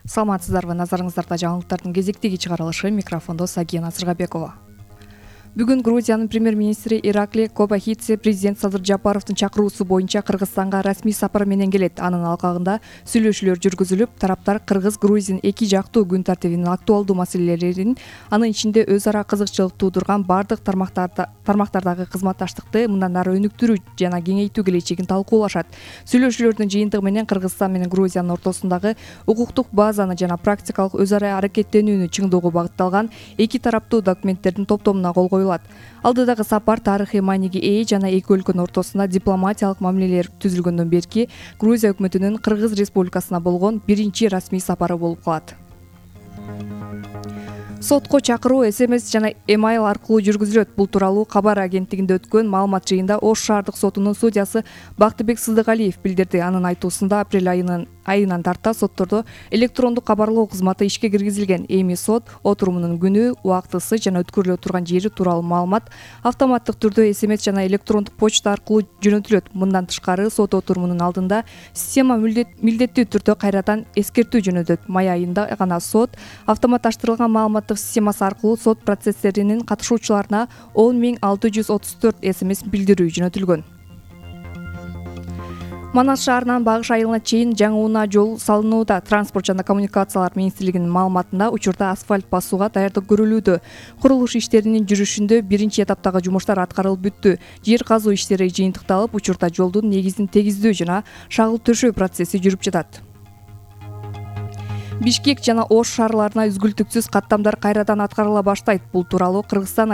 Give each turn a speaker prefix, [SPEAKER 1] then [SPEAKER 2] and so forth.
[SPEAKER 1] Саламатсыздарбы, назарыңыздарда жаңылыктардын кезектеги чыгарылышы, микрофондо Сагия Назырбекова. Бүгүн Грузиянын премьер-министри Ираклий Кобахидзе президент Садыр Жапаровдун чакыруусу боюнча Кыргызстанга расмий сапар менен келет. Анын алкагында сүйлөшүүлөр жүргүзүлүп, тараптар Кыргыз-Грузин эки жактуу күн тартибинин актуалдуу маселелерин, анын ичинде өз ара кызыкчылык туудурган бардык тармактардагы кызматташтыкты мындан ары өнүктүрүү жана кеңейтүү келечегин талкуулашат. Сүйлөшүүлөрдүн жыйынтыгы менен Кыргызстан менен Грузиянын ортосундагы укуктук базаны жана практикалык өз ара аракеттенүүнү чыңдоого багытталган эки тараптуу документтердин топтомуна кол коюлат. Алдыдагы сапар тарыхый мааниге ээ жана эки өлкөнүн ортосунда дипломатиялык мамилелер түзүлгөндөн берки Грузия өкмөтүнүн Кыргыз Республикасына болгон биринчи расмий сапары болуп калат. Сотко чакыруу СМС жана эмайл аркылуу жүргүзүлөт. Бул тууралуу Кабар агенттигинде өткөн маалымат жыйында Ош шаардык сотунун судьясы Бактыбек Сыздыгалиев билдирди. Анын айтуусунда апрель айынан тарта соттордо электрондук кабарлоо кызматы ишке киргизилген. Эми сот отурумунун күнү, убактысы жана өткөрүлө турган жери тууралуу маалымат автоматтык түрдө СМС жана электрондук почта аркылуу жөнөтүлөт. Мындан тышкары сот отурумунун алдында система милдеттүү түрдө кайрадан эскертүү жөнөтөт. Май айында гана сот автоматташтырылган маалыматтык системасы аркылуу сот процесстеринин катышуучуларына 10.634 СМС билдирүү жөнөтүлгөн. Манас шаарынан Багыш айылына чейин жаңы унаа жол салынууда. Транспорт жана коммуникациялар министрлигинин маалыматында учурда асфальт басууга даярдык көрүлүүдө. Курулуш иштеринин жүрүшүндө биринчи этаптагы жумуштар аткарылып бүттү. Жер казуу иштери жыйынтыкталып, учурда жолдун негизин тегиздөө жана шагыл төшөө процесси жүрүп жатат. Бишкек жана Ош шаарларына үзгүлтүксүз каттамдар кайрадан аткарыла баштайт. Бул тууралуу Кыргызстан